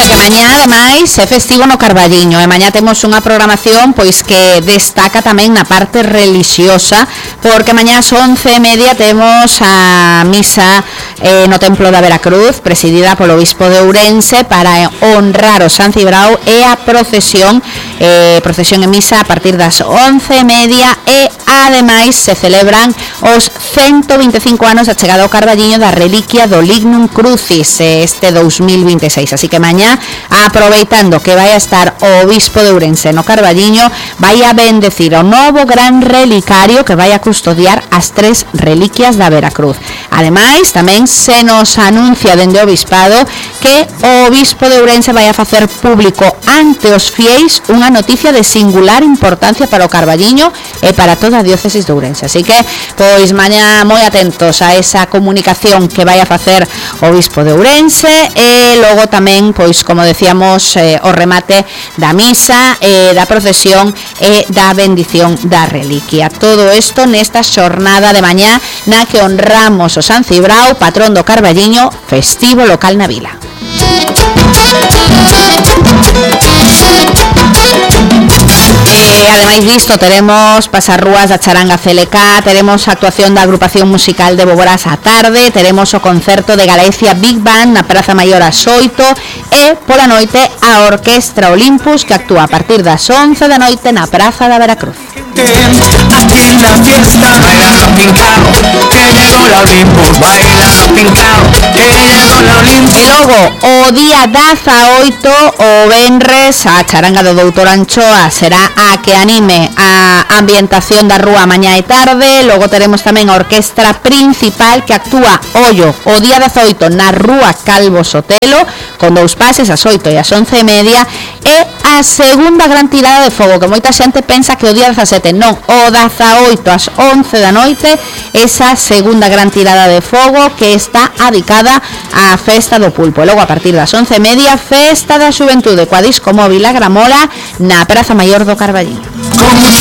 Mañá, ademais, é festivo no Carballiño e mañá temos unha programación pois que destaca tamén na parte relixiosa, porque mañá ás 11:30 temos a misa no Templo da Veracruz, presidida polo Obispo de Ourense, para honrar o San Cibrao, e a procesión e misa a partir das 11:30, e ademais se celebran os 125 anos da chegada ao Carballiño da reliquia do Lignum Crucis este 2026, así que mañá, aproveitando que vai a estar o Obispo de Ourense no Carballiño, vai a bendecir o novo gran relicario que vai a custodiar as 3 reliquias da Veracruz. Ademais, tamén se nos anuncia dende o Obispado que o Obispo de Ourense vai a facer público ante os fieis unha noticia de singular importancia para o Carballiño e para toda a diócesis de Ourense. Así que, pois, mañá moi atentos a esa comunicación que vai a facer o Obispo de Ourense, e logo tamén, pois, como decíamos, o remate da misa, da procesión e da bendición da reliquia. Todo isto nesta xornada de mañá na que honramos o San Cibrao, patrón do Carballiño, festivo local na vila. Ademais disto, teremos pasarrúas da charanga CLK, teremos a actuación da agrupación musical de Boborás á tarde, teremos o concerto de Galicia Big Band na Praza Maior ás 8, e pola noite a Orquestra Olympus, que actúa a partir das 11 da noite na Praza da Veracruz. Aquí en la fiesta bailando pincao, que llegó la Olympus, bailando pincao, que llegó la Olympus. E logo, o día 18, o venres, a charanga do Doutor Anchoa será a que anime a ambientación da rúa mañá e tarde. Logo teremos tamén a orquestra principal que actúa, ollo, o día 18 na rúa Calvo Sotelo, con 2 pases, ás 8 e ás 11:30, e a segunda gran tirada de fogo, que moita xente pensa que o día 17, non, o 18 ás 11 da noite, esa segunda gran tirada de fogo que está adicada á festa do pulpo. E logo a partir das 11:30, festa da xuventude coa disco móvil a Gramola na Praza Maior do Carballiño. Con muchos